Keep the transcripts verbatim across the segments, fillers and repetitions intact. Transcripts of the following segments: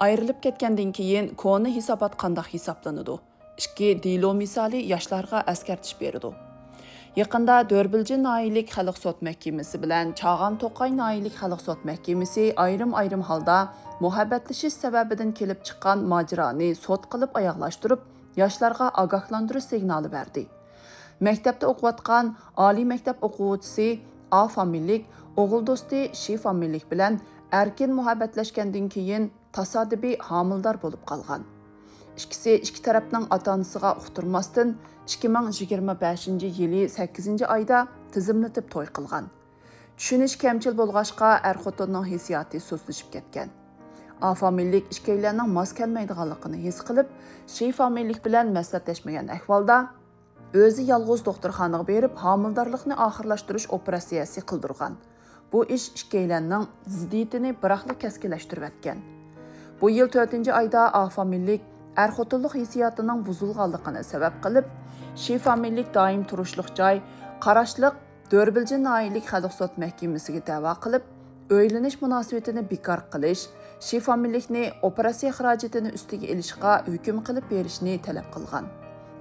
ئايرىلىپ كەتكەندىن كېيىن كونا ھېسابات قانداق ھېسابلىنىدۇ؟ ئىككى دېلو مىسالى ياشلارغا ئەسكەرتىش بېرىدۇ. يېقىندا دۆربىلجى ناھىيەلىك خەلق سوت مەھكىمىسى بىلەن چاغان توقاي ناھىيەلىك خەلق سوت مەھكىمىسى ئايرىم-ئايرىم ھالدا مۇھەببەتلىشىش سەۋەبىدىن كېلىپ چىققان ماجىرانى سوت قىلىپ ئاياغلاشتۇرۇپ، ياشلارغا ئاگاھلاندۇرۇش سىگنالى بەردى. مەكتەپتە ئوقۇۋاتقان ئالىي مەكتەپ ئوقۇغۇچىسى ئا فامىلىلىك، ئوغۇل دوستى شى فامىلىلىك بىلەن ئەركىن مۇھەببەتلەشكەندىن كېيىن، تاسادىپىي ھامىلىدار بولۇپ قالغان. ئىككىسى ئىككى تەرەپنىڭ ئاتا-ئانىسىغا ئۇقتۇرماستىن، ئىككى مىڭ يىگىرمە بەشىنچى يىلى سەككىزىنچى ئايدا تىزىملىتىپ توي قىلغان. چۈشىنىش كەمچىل بولغاچقا، ئەر-خوتۇننىڭ ھېسسىياتى سۇسلىشىپ كەتكەن. ئا فامىلىلىك ئىككىيلەننىڭ ماس كەلمەيدىغانلىقىنى ھېس قىلىپ، شى فامىلىلىك بىلەن مەسلىھەتلەشمىگەن ئەھۋالدا، ئۆزى يالغۇز دوختۇرخانىغا بېرىپ، ھامىلىدارلىقنى ئاخىرلاشتۇرۇش ئوپېراتسىيەسى قىلدۇرغان. بۇ ئىش ئىككىيلەننىڭ زىددىيىتىنى بىراقلا كەسكىنلەشتۈرۈۋەتكەن. بۇ يىل تۆتىنچى ئايدا ئا فامىلىلىك ئەر-خوتۇنلۇق ھېسسىياتىنىڭ بۇزۇلغانلىقىنى سەۋەب قىلىپ، شى فامىلىلىك دائىم تۇرۇشلۇق جاي قاراشلىق دۆربىلجى ناھىيەلىك خەلق سوت مەھكىمىسىگە دەۋا قىلىپ، ئۆيلىنىش مۇناسىۋىتىنى بىكار قىلىش، شى فامىلىلىكنى ئوپېراتسىيە خىراجىتىنى ئۈستىگە ئېلىشقا ھۆكۈم قىلىپ بېرىشنى تەلەپ قىلغان.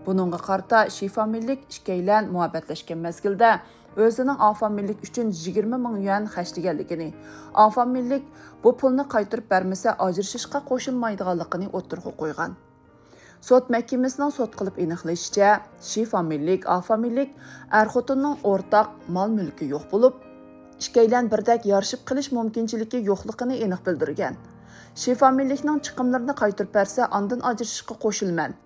بۇنىڭغا قارىتا شى فامىلىلىك ئىككىيلەن مۇھەببەتلەشكەن مەزگىلدە ئۆزىنىڭ ئا فامىلىلىك ئۈچۈن يىگىرمە مىڭ يۈەن خەجلىگەنلىكىنى، ئا فامىلىلىك بۇ پۇلنى قايتۇرۇپ بەرمىسە ئاجرىشىشقا قوشۇلمايدىغانلىقىنى ئوتتۇرىغا قويغان. سوت مەھكىمىسىنىڭ سوت قىلىپ ئېنىقلىشىچە، شى فامىلىلىك، ئا فامىلىلىك ئەر-خوتۇننىڭ ئورتاق مال-مۈلكى يوق بولۇپ، ئىككىيلەن بىردەك يارىشىپ قېلىش مۇمكىنچىلىكى يوقلۇقىنى ئېنىق بىلدۈرگەن. شى فامىلىلىكنىڭ چىقىملىرىنى قايتۇرۇپ بەرسە، ئاندىن ئاجرىشىشقا قوشۇلىمەن،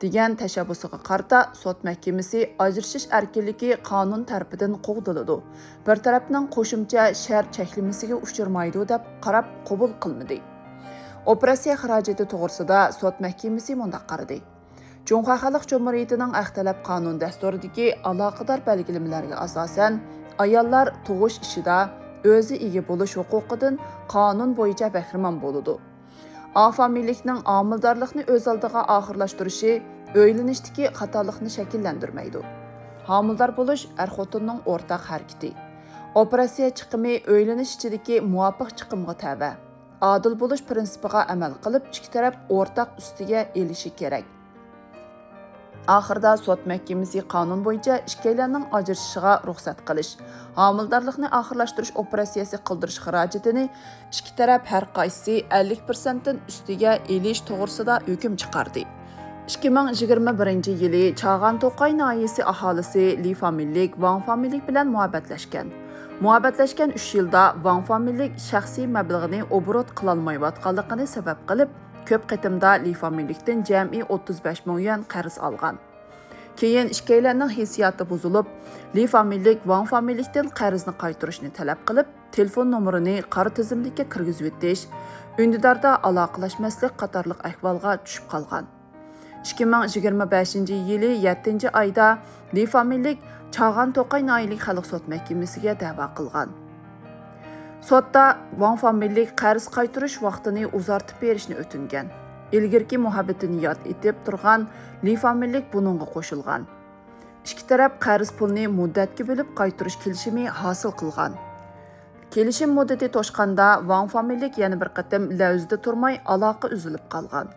دېگەن تەشەببۇسىغا قارىتا، سوت مەھكىمىسى ئاجرىشىش ئەركىنلىكى قانۇن تەرىپىدىن قوغدىلىدۇ، بىر تەرەپنىڭ قوشۇمچە شەرت چەكلىمىسىگە ئۇچرىمايدۇ، دەپ قاراپ قوبۇل قىلمىدى. ئوپېراتسىيە خىراجىتى توغرىسىدا سوت مەھكىمىسى مۇنداق قارىدى: جۇڭخۇا خەلق جۇمھۇرىيىتىنىڭ ھەق تەلەپ قانۇن دەستۇرىدىكى ئالاقىدار بەلگىلىمىلەرگە ئاساسەن، ئاياللار تۇغۇش ئىشىدا ئۆزى ئىگە بولۇش ھوقۇقىدىن قانۇن بويىچە بەھرىمەن بولىدۇ. ئا فامىلىلىكنىڭ ھامىلىدارلىقنى ئۆز ئالدىغا ئاخىرلاشتۇرۇشى ئۆيلىنىشتىكى خاتالىقنى شەكىللەندۈرمەيدۇ. ھامىلىدار بولۇش ئەر-خوتۇننىڭ ئورتاق ھەرىكىتى. ئوپېراتسىيە چىقىمى ئۆيلىنىش ئىچىدىكى مۇۋاپىق چىقىمغا تەۋە. ئادىل بولۇش پىرىنسىپىغا ئەمەل قىلىپ، ئىككى تەرەپ ئورتاق ئۈستىگە ئېلىشى كېرەك. ئاخىرىدا سوت مەھكىمىسى قانۇن بويىچە ئىككىيلەننىڭ ئاجرىشىشىغا رۇخسەت قىلىش، ھامىلىدارلىقنى ئاخىرلاشتۇرۇش ئوپېراتسىيەسى قىلدۇرۇش خىراجىتىنى ئىككى تەرەپ ھەر قايسىسى ئەللىك پىرسەنتتىن ئۈستىگە ئېلىش توغرىسىدا ھۆكۈم چىقاردى. ئىككى مىڭ يىگىرمە بىرىنچى يىلى چاغان توقاي ناھىيەسى ئاھالىسى لى فامىلىلىك ۋاڭ فامىلىلىك بىلەن مۇھەببەتلەشكەن. مۇھەببەتلەشكەن ئۈچ يىلدا ۋاڭ فامىلىلىك شەخسىي مەبلىغىنى ئوبوروت قىلالمايۋاتقانلىقىنى سەۋەب قىلىپ، كۆپ قېتىمدا لى فامىلىلىكتىن جەمئىي ئوتتۇز بەش مىڭ يۈەن قەرز ئالغان. كېيىن ئىككىيلەننىڭ ھېسسىياتى بۇزۇلۇپ، لى فامىلىلىك ۋاڭ فامىلىلىكتىن قەرزنى قايتۇرۇشنى تەلەپ قىلىپ، تېلېفون نومۇرىنى قارا تىزىملىككە كىرگۈزۈۋېتىش، ئۈندىداردا ئالاقىلەشمەسلىك قاتارلىق ئەھۋالغا چۈشۈپ قالغان. ئىككى مىڭ يىگىرمە بەشىنچى يىلى يەتتىنچى ئايدا لى فامىلىلىك چاغان توقاي ناھىيەلىك خەلق سوت مەھكىمىسىگە دەۋا قىلغان. سوتتا ۋاڭ فامىلىلىك قەرز قايتۇرۇش ۋاقتىنى ئۇزارتىپ بېرىشنى ئۆتۈنگەن. ئىلگىرىكى مۇھەببىتىنى ياد ئېتىپ تۇرغان لى فامىلىلىك بۇنىڭغا قوشۇلغان. ئىككى تەرەپ قەرز پۇلنى مۇددەتكە بۆلۈپ قايتۇرۇش كېلىشىمى ھاسىل قىلغان. كېلىشىم مۇددىتى توشقاندا، ۋاڭ فامىلىلىك يەنە بىر قېتىم لەۋزىدە تۇرماي ئالاقە ئۈزۈلۈپ قالغان.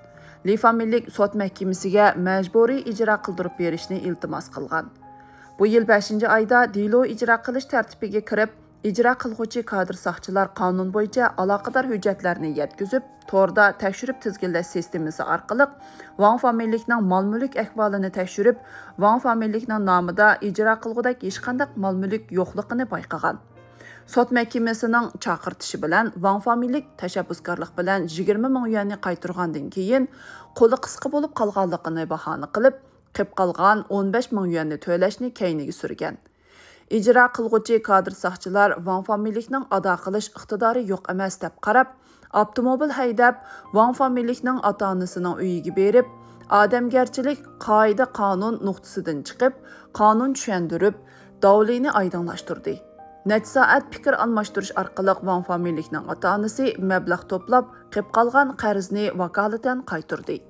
لى فامىلىلىك سوت مەھكىمىسىگە مەجبۇرىي ئىجرا قىلدۇرۇپ بېرىشنى ئىلتىماس قىلغان. بۇ يىل بەشىنچى ئايدا دېلو ئىجرا قىلىش تەرتىپىگە كىرىپ، ئىجرا قىلغۇچى كادىر ساقچىلار قانۇن بويىچە ئالاقىدار ھۆججەتلەرنى يەتكۈزۈپ، توردا تەكشۈرۈپ تىزگىنلەش سىستېمىسى ئارقىلىق ۋاڭ فامىلىلىكنىڭ مال-مۈلۈك ئەھۋالىنى تەكشۈرۈپ، ۋاڭ فامىلىلىكنىڭ نامىدا ئىجرا قىلغۇدەك ھېچقانداق مال-مۈلۈك يوقلۇقىنى بايقىغان. سوت مەھكىمىسىنىڭ چاقىرتىشى بىلەن ۋاڭ فامىلىلىك تەشەببۇسكارلىق بىلەن يىگىرمە مىڭ يۈەننى قايتۇرغاندىن كېيىن، قولى قىسقا بولۇپ قالغانلىقىنى باھانە قىلىپ، قېلىپ قالغان ئون بەش مىڭ يۈەننى تۆلەشنى كەينىگە سۈرگەن. ئىجرا قىلغۇچى كادىر ساقچىلار ۋاڭ فامىلىلىكنىڭ ئادا قىلىش ئىقتىدارى يوق ئەمەس دەپ قاراپ، ئاپتوموبىل ھەيدەپ، ۋاڭ فامىلىلىكنىڭ ئاتا-ئانىسىنىڭ ئۆيىگە بېرىپ، ئادەمگەرچىلىك قائىدە-قانۇن نۇقتىسىدىن چىقىپ، قانۇن چۈشەندۈرۈپ، داۋلىنى ئايدىڭلاشتۇردى. نەچچە سائەت پىكىر ئالماشتۇرۇش ئارقىلىق ۋاڭ فامىلىلىكنىڭ ئاتا-ئانىسى مەبلەغ توپلاپ، قېلىپ قالغان قەرزنى ۋاكالىتەن قايتۇردى.